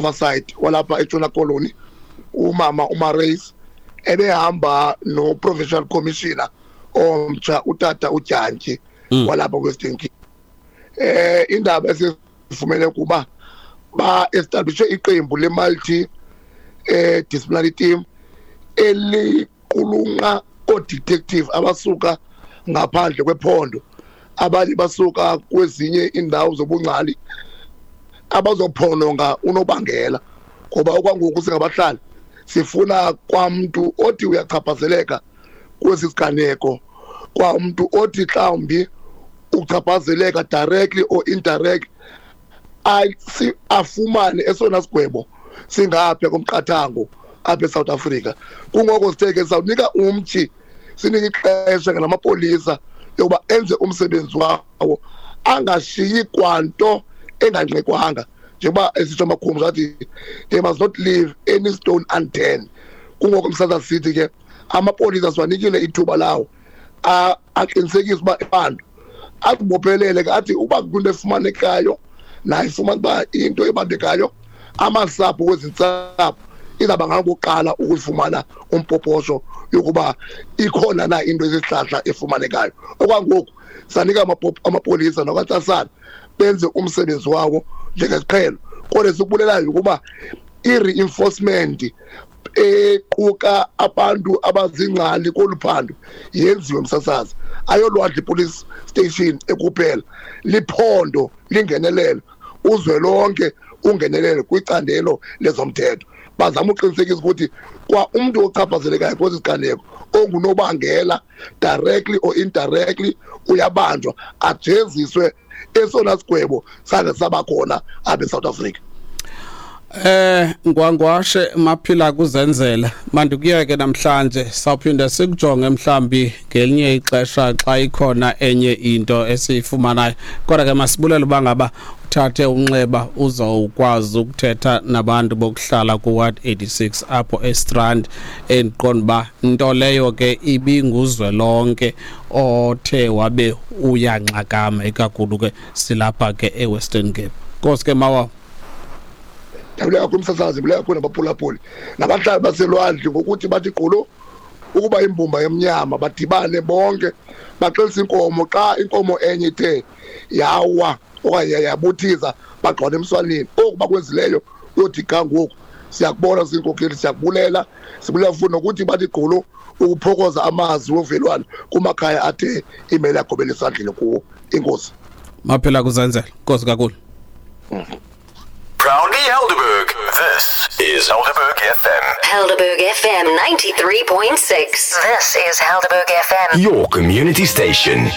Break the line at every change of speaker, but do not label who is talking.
Oversight walapha eNtshona Koloni, umama uMarais, ebehamba no-provincial commissioner omtsha, utata uDyantyi, walapha Western Cape. Indaba esifumene kuba ba-establishe iqembu le-multi disciplinary team eliqulunqa oo-detective abasuka ngaphandle kwephondo, abanye basuka kwezinye iindawo zobungcali, abazophononga unobangela, ngoba okwangoku singabahlali sifuna kwamntu othi uyachaphazeleka kwesi siganeko, kwamntu othi mhlawumbi uchaphazeleka directly or indirectly, afumane esona sigwebo singapha komqathango apha eSouth Africa. Kungoko sithe ke sawunika umtshi, sinike ixesha ke namapolisa yokuba enze umsebenzi wawo, angashiyi kwanto engancekwanga, njengoba esitsho amakhumsha athi they must not leave any stone unturned. Kungoko msasa sithi ke amapolisa siwanikile ithuba lawo aqinisekise uba abantu azibophelele ke, athi uba kwinto efumanekayo naye ifumana uba into ebambekayo, amasapho kwezintsapho izawuba ngabokuqala ukuyifumana umpoposho yokuba ikhona na into esihlahla efumanekayo. Okwangoku sanika amapolisa nakwatsasana benze umsebenzi wawo njengesiqhelo, kodwa sikubulelayo ukuba i-reinforcement equka abantu abazingcali kolu phando yenziwe. Msasazi, ayolwandle police station ekuphela, liphondo lingenelelo, uzwelonke ungenelele kwicandelo lezomthetho, bazama uqinisekisa ukuthi kwa umntu ochaphazelekayo kwesi siganeko ongunobangela directly or indirectly uyabanjwa, ajeziswe esona sigwebo sange saba khona apha eSouth Africa.
Ngwangwashe Maphila kuzenzela, mandikuyeke namhlanje, sawuphinda sikujonge mhlambi ngelinye ixesha xa ikhona enye into esiyifumanayo. Kodwa ke masibulele uba ngaba uthathe unxeba uzawukwazi ukuthetha nabantu bokuhlala ku-ward 86 apho eStrand, endiqonda uba nto leyo ke ibinguzwelonke othe wabe uyanxakama, ikakhulu ke silapha ke eWestern Cape. Nkosi ke mawa.
Ndiyabulela kakhulu umsasazi, ndibulela kakhulu nabaphulaphuli nabahlali baselwandle ngokuthi bathi gqolo ukuba imbumba yomnyama, badibane bonke baxelise inkomo. Xa inkomo enye ithe yawa okanye yabuthiza, bagqwane emswaneni. Oku bakwenzileyo uyothi ga ngoku siyakubona sizinkokheli, siyakubulela, sibulela futhi nokuthi bathi gqolo ukuphokoza amazwi wovelwano kumakhaya athe imele yagobela esandleni kuwo. Inkosi.
Maphila kuzenzela, nkosi kakhulu.
Proudly Helderberg. This is Helderberg FM.
Helderberg FM 93.6. This is Helderberg FM.
Your community station.